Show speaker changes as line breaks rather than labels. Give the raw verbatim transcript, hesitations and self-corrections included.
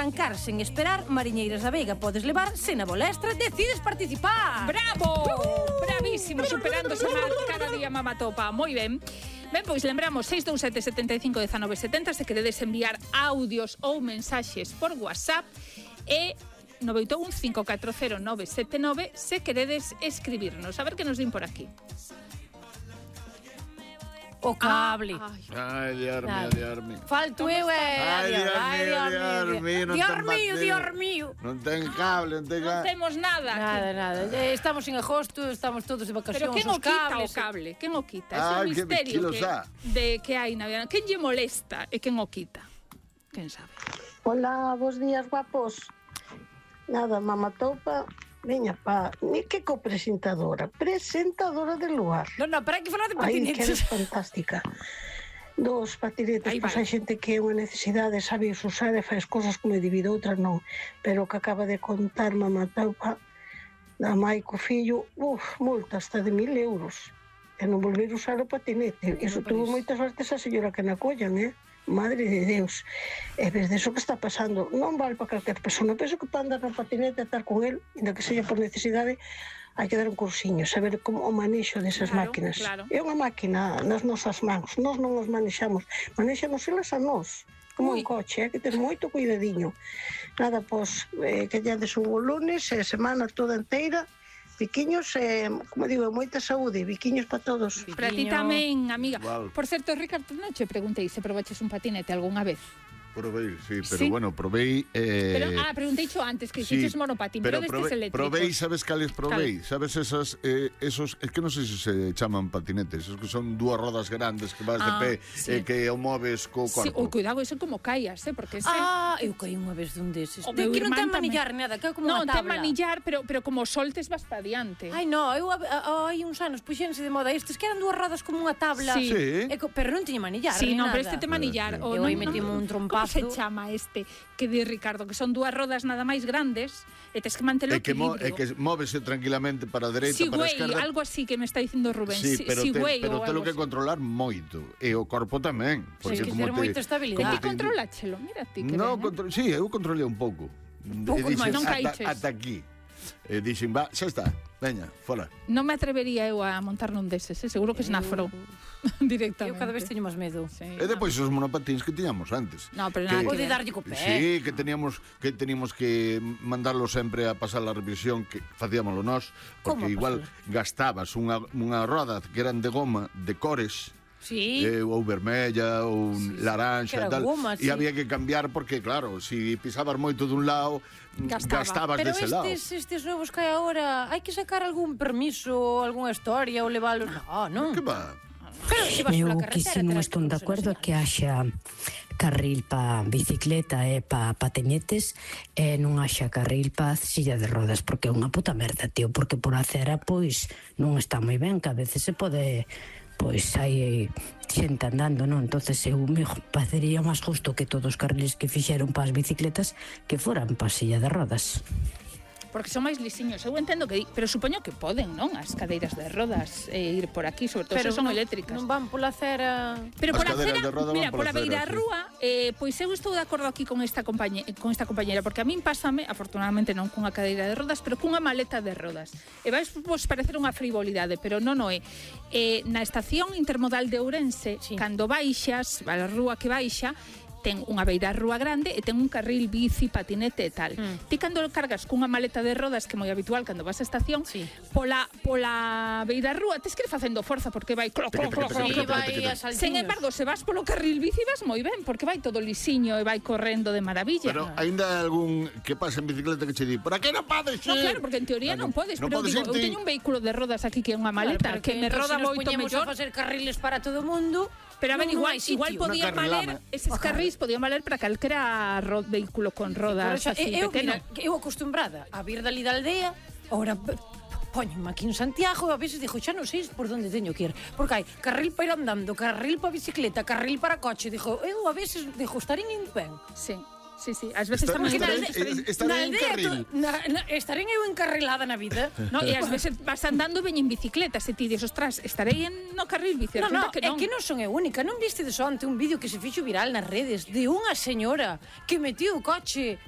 arrancar sen esperar, Mariñeiras da Veiga podes levar, se na bolestra decides participar.
Bravo! Bravísimo, superándose máis cada día Mamatopa. Moi ben. Ben, pois lembramos seis dous sete, sete cinco, un nove sete zero se queredes enviar audios ou mensaxes por WhatsApp e nove oito un, cinco catro cero, nove sete nove se queredes escribirnos. A ver que nos din por aquí.
O cable.
Ai, Dios mío, Dios mío.
Falto eu e...
Ai, Dios mío, Dios mío.
Dios mío, Dios mío.
Non ten cable, non ten
Non
cable.
temos nada.
Nada, nada. Estamos en agosto, estamos todos de vacacións.
Pero quen o
os
quita
cables,
o cable? Quen o quita? É
Ah,
un
que-
misterio
que lo
que,
sa.
de que hai na vida. Quen lle molesta e quen o quita? Quen sabe?
Hola, bons días, guapos. Nada, Mamatopa, veña pa, ni que copresentadora, presentadora del lugar.
No, no, pero hai que falar de
Ai, que eres
patinetes.
fantástica. Dos patinetes,
Aí
pois
vai.
hai xente que é unha necesidade, sabe usar e faz cosas como debido, outras non. Pero o que acaba de contar Mamatopa, da mai co fillo, uf, multa hasta de mil euros. E non volver a usar o patinete. Iso tuvo moitas sortes a señora que na collan, eh? Madre de Deus. E ves de eso que está pasando. Non vale para calquer persona. Penso que para andar no patinete e estar con el, ainda que seja por necesidade, hai que dar un cursiño, saber como o manexo desas
Claro,
máquinas.
claro.
É unha máquina nas nosas mans. Nós non os manexamos. Manexamos elas a nós. Como
Ui.
un coche, hai que ter moito cuidadiño. Nada, pois, eh, que llades un lunes e semana toda inteira. Biquiños, eh, como digo, moita saúde, biquiños para todos.
Para ti tamén, amiga.
Igual.
Por certo, Ricardo, non che preguntei se probaches un patinete algunha vez.
Probei, sí, pero
Sí.
bueno, probei... Eh...
Pero, ah, preguntei xo antes, que
sí,
hiciste monopatín, pero,
pero
destes
probei,
eléctricos.
probei, sabes cales probei? Sabes esas, eh, esos, es que non sei se se chaman patinetes, esos que son dúas rodas grandes que vas
Ah,
de pé
sí.
e que o moves co
Sí,
corpo.
o cuidado, eso como caías, eh, porque ese...
Ah, eu caí unha vez dun deses.
O
De
meu
que non ten
irmán tamén.
manillar nada, que é como
non,
unha
ten
tabla.
manillar, pero, pero como soltes vas para diante.
Ai, no, eu a- a- hai uns anos puxense de moda estes que eran dúas rodas como unha tabla.
Sí.
Sí.
E co- pero non tiña manillar,
Sí,
ni
non,
nada.
pero este te manillar. O
Eu
non,
aí metime
non-
un
Como
trompazo.
se chama este que di Ricardo? Que son dúas rodas nada máis grandes e tes que mantelo
E que, mo,
equilibrio.
e que móvese tranquilamente para a dereita,
Si
para a
güey,
esquerda.
algo así que me está dicindo Rubén.
Sí,
Si-
pero
si
te,
güey
pero
ou
te lo
algo
que
así.
controlar moito. E o corpo tamén.
Tens que ter moita estabilidade.
como
Ti controláchelo, mira ti que
No,
ben, eh?
contro sí, eu controlei un pouco.
Pouco
E dixen,
máis.
Non
ata,
caíches.
ata aquí. E dixen, va, xa está, veña, fora.
Non me atrevería eu a montar nun deses, eh? Seguro que esnafro directamente.
Eu cada vez teño máis medo.
Sí,
E depois os monopatins que tiñamos antes.
No, pero nada que
Pode
ver.
darlle co pé.
Sí, que teníamos que teníamos que mandarlo sempre a pasar a revisión que facíamoslo nós,
Como
porque
a
igual gastabas unha, unha roda que eran de goma de cores.
Sí.
Eh, ou vermella ou
Sí, sí.
laranxa
Que
e
era
tal,
goma,
e
sí.
había que cambiar porque claro, si pisabas moito dun lado,
Gastaba.
gastabas
Pero
dese lado.
estes, estes novos que hai agora, hai que sacar algún permiso, algunha historia ou leválos. No, non.
Que va?
Pero se vas
Eu
pola
que
carretera,
si non
terás
estou de
que
acordo
ensinar.
que haxa carril pa bicicleta e pa patinetes e non haxa carril pa silla de rodas, porque é unha puta merda, tío, porque por a acera pois non está moi ben, que a veces se pode, pois hai xente andando, non? Entonces eu me parecería máis justo que todos os carriles que fixeron pa as bicicletas que foran pa silla de rodas.
Porque son máis lisiños. Eu entendo que di, pero supoño que poden, non? As cadeiras de rodas e ir por aquí, sobre todo se son
non-
eléctricas.
Non van pola acera.
Pero
As
por a
cadeiras
acera,
de roda
mira,
van
por
pola
a beira
acera, sí.
rúa, eh, pois eu estou de acordo aquí con esta compañe, con esta compañera, porque a min pásame, afortunadamente non cunha cadeira de rodas, pero cunha maleta de rodas. E vais vos parecer unha frivolidade, pero non o é. Eh, na estación intermodal de Ourense,
Sí.
cando baixas, a rúa que baixa, ten unha beira rúa grande e ten un carril bici, patinete e tal.
Mm.
Ti cando cargas cunha maleta de rodas, que é moi habitual cando vas á estación,
Sí.
pola, pola beira rúa tes que ir facendo forza porque vai clo, clo, clo, clo,
Sí,
clo, clo.
vai a saltiños.
Sen embargo, se vas polo carril bici vas moi ben, porque vai todo lisiño e vai correndo de maravilla.
Pero aínda hai algún que pasa en bicicleta que che di, por aquí non podes ir.
No, claro, porque en teoría non podes,
non
pero
podes
digo, eu
irte.
teño un vehículo de rodas aquí que é unha maleta,
Claro,
que me
entón,
roda
se nos
moito
poñemos
mellor.
a facer carriles para todo o mundo.
Pero a ver,
non- non
igual,
hai sitio.
igual podían
Unha carrilama.
valer, eses carrís podían valer para calquera ro vehículo con
Pero
rodas
xa,
así
eu,
pequeno.
mira, que eu acostumbrada a vir dali da aldea, ora poñenme aquí en Santiago e a veces dixo, xa non sei por onde teño que ir, porque hai carril para ir andando, carril para bicicleta, carril para coche, dixo, eu a veces dixo, estarín indo ben.
Sí. Sí, sí, ás veces
Estar-
tamén
estar-
estarei-
estarei- estarei
Na
en
aldea
carril.
to- na- na- estarei eu encarrilada na vida.
No, e ás veces vas andando e veñen bicicletas e ti dis, ostras, estarei en no carril bici.
No, no,
Resulta que
é
non.
que non son eu única. Non viste de onte un vídeo que se fixo viral nas redes de unha señora que metió o coche